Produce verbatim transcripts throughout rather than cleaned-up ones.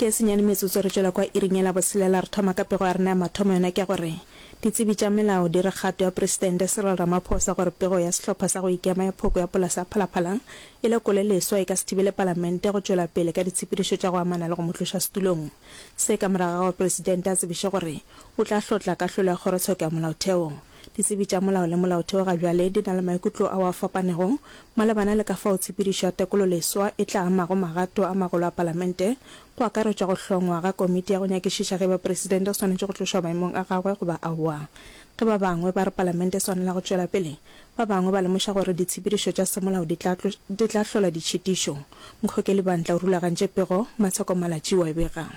Ke senyane metsotso re tšwela kwa iring ya labotshelela re thoma ka pego ya rena ya mathomo yona ke gore ditsebi tša melao di re kgato ya Presidente Cyril Ramaphosa gore pego ya sehlopha sa go ikema ya phoko ya polasa ya Phalaphala e lekole leswa e ka se thibele palamente go tšwela pele ka ditshepedišo tša go amana le go mo tloša setulong. Se ka morago ga gore Presidente a tsebiše gore o tla hlotla kahlolo ya kgorotsheko ya molaotheo. Ditsebi tša molao le molaotheo ga bjale di na le maikutlo ao a fapanego malebana le ka fao tshepedišo ya tekolo leswa e tla amago magato a magolo a palamente, go akaretšwa go hlongwa ga komiti ya go nyakišiša ge eba presidente o swanetše go tlošwa maemong a gagwe goba aowa. Ge ba bangwe ba re palamente e swanela go tšwela pele, ba bangwe ba lemoša gore ditshepedišo tša semolao di tla di tla hlola ditšhitišo. Mokgokeli Bantla o rulagantše pego, Matsheko Malatji o a e bega.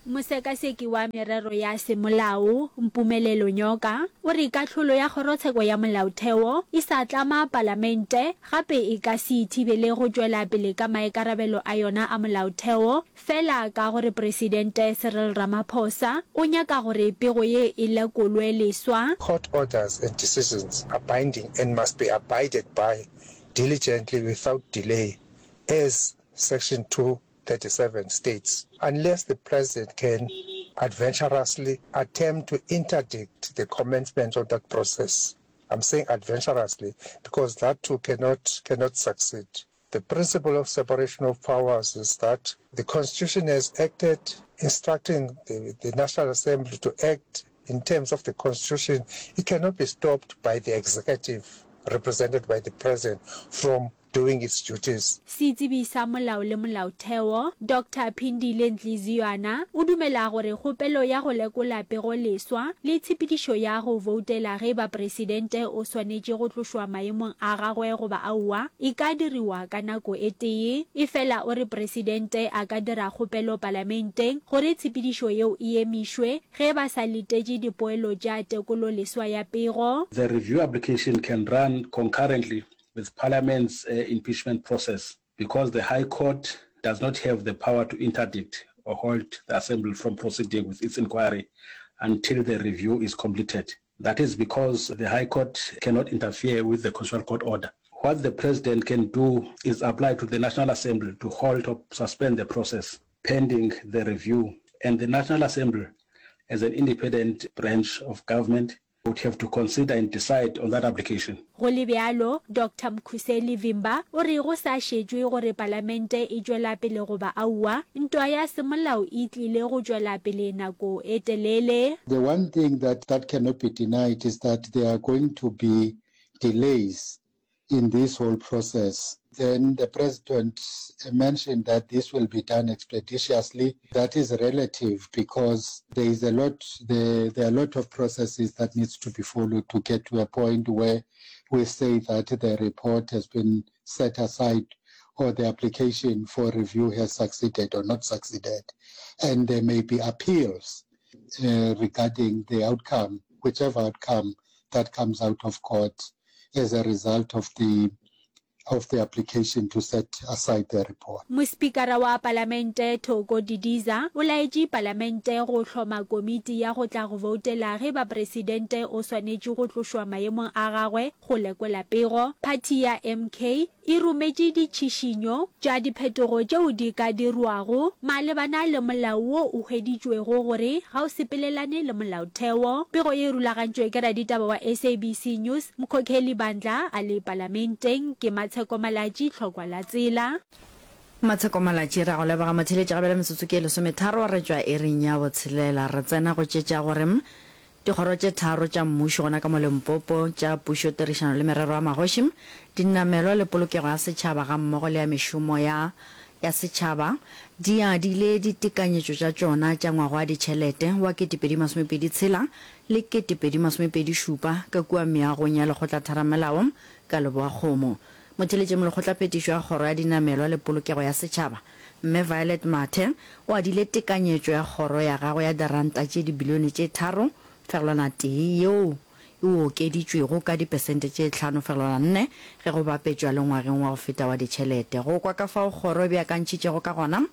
Mosekaseki wa merero ya semolao, Mpumelelo Nyoka, o re kahlolo ya Kgorotsheko ya Molaotheo e sa tlama Palamente gape e ka se e thibele go tšwela pele ka maikarabelo a yona a molaotheo fela ka gore Presidente Cyril Ramaphosa o nyaka gore pego ye e lekolwe leswa. Court orders and decisions are binding and must be abided by diligently without delay as section two thirty-seven states, unless the president can adventurously attempt to interdict the commencement of that process. I'm saying adventurously because that too cannot, cannot succeed. The principle of separation of powers is that the Constitution has acted instructing the, the National Assembly to act in terms of the Constitution. It cannot be stopped by the executive represented by the president from doing its duties. Setsebi sa molao le molaotheo, Doctor Phindile Ntliziywana, o dumela gore kgopelo ya go lekola pego leswa le tshepedišo ya go voutela ge eba presidente o swanetše go tlošwa maemong a gagwe goba aowa e ka diriwa ka nako e tee. Efela o re presidente a ka dira kgopelo palamenteng gore tshepedišo yeo e emišwe ge ba sa letetše dipoelo tša tekolo leswa ya pego. The review application can run concurrently with Parliament's impeachment process because the High Court does not have the power to interdict or halt the Assembly from proceeding with its inquiry until the review is completed. That is because the High Court cannot interfere with the Constitutional Court order. What the President can do is apply to the National Assembly to halt or suspend the process pending the review, and the National Assembly, as an independent branch of government, would have to consider and decide on that application. Go le bjalo, Doctor Mkhuseli Vimba o re go sa šetšwe gore palamente e tšwela pele goba aowa, ntwa ya semolao e tlile go tšwela pele nako e telele. The one thing that that cannot be denied is that there are going to be delays in this whole process. Then the president mentioned that this will be done expeditiously. That is relative because there is a lot, there, there are a lot of processes that needs to be followed to get to a point where we say that the report has been set aside or the application for review has succeeded or not succeeded. And there may be appeals, uh, regarding the outcome, whichever outcome that comes out of court as a result of the of the application to set aside the report. Mospikara wa Palamente Thoko Didiza o laetše Palamente go hloma komiti ya go tla go voutela ge ba presidente o swanetše go tlošwa maemong a gagwe go lekola pego. Phathi ya M K e rometše ditšhišinyo tša diphetogo tšeo di ka dirwago malebana le molao wo o hweditšwego gore ga o sepelelane le molaotheo. Pego ye e rulagantšwe ke raditaba wa S A B C News, Mkhokheli Bandla a le Palamenteng. Ke Matsheko Malatji, Tlhokwa la Tsela. Matsheko Malatji, re a go leboga motheeletši. Ga bjale metsotso ke e lesometharo re tšwa iring ya botshelela re tsena go tše tša gore dikgoro tše tharo tša mmušo gona ka mo Limpopo tša pušo, tirišano le merero ya magoši, dinamelwa le polokego ya setšhaba gammogo le ya mešomo ya ya setšhaba di adile ditekanyetšo tša tšona tša ngwaga wa ditšhelete wa ketepedi masomepedi tshela le ketepedi masomepedi šupa ka kua meagong ya lekgotlatheramelao ka Leboakgomo. Motheeletši molekgotlaphethišo ya kgoro ya dinamelwa le polokego ya setšhaba, Mme Violet Mathe, o adile tekanyetšo ya kgoro ya gagwe ya diranta tše dibilione tše tharo fegelwana tee yeo e okeditšwego ka dipesente tše hlano fegelwana nne ge go bapetšwa le ngwageng wa go feta wa ditšhelete. Go kwa ka fao kgoro e beakantšhitšego ka gona,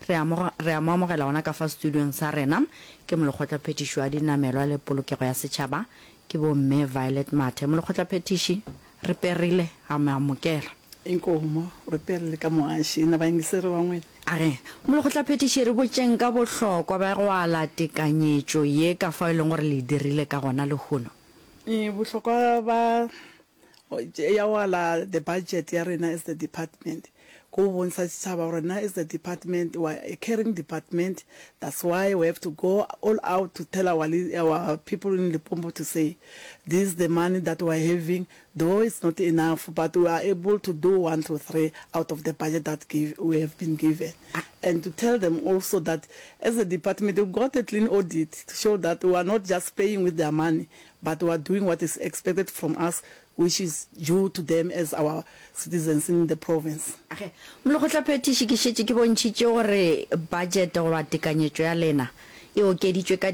re a mo, re a mo amogela gona ka fa studiong sa rena. Ke molekgotlaphethiši wa dinamelwa le polokego ya setšhaba, ke bo Mme Violet Mathe. Molekgotlaphethiši, re perile, a mo amogela. Inkomu, re pele le ka moaši na bayingiseri va n'wina. A re, Molekgotlaphethiši, re botšeng ka bohlokwa bja go ala tekanyetšo ye ka fao e leng gore le e dirile ka gona lehono. Bohlokwa ba ya go ala the budget ya rena as the department ke go bontsha setšhaba gore rena as the department we are a caring department that's why we have to go all out to tell our our people in Limpopo to say this is the money that we are having though it's not enough but we are able to do one two three out of the budget that give we have been given and to tell them also that as a department we got a clean audit to show that we are not just paying with their money but we are doing what is expected from us which is due to them as our citizens in the province. Ge, Molekgotlaphethiši, ke šetše ke bontšhitše gore budget goba tekanyetšo ya lena e okeditšwe ka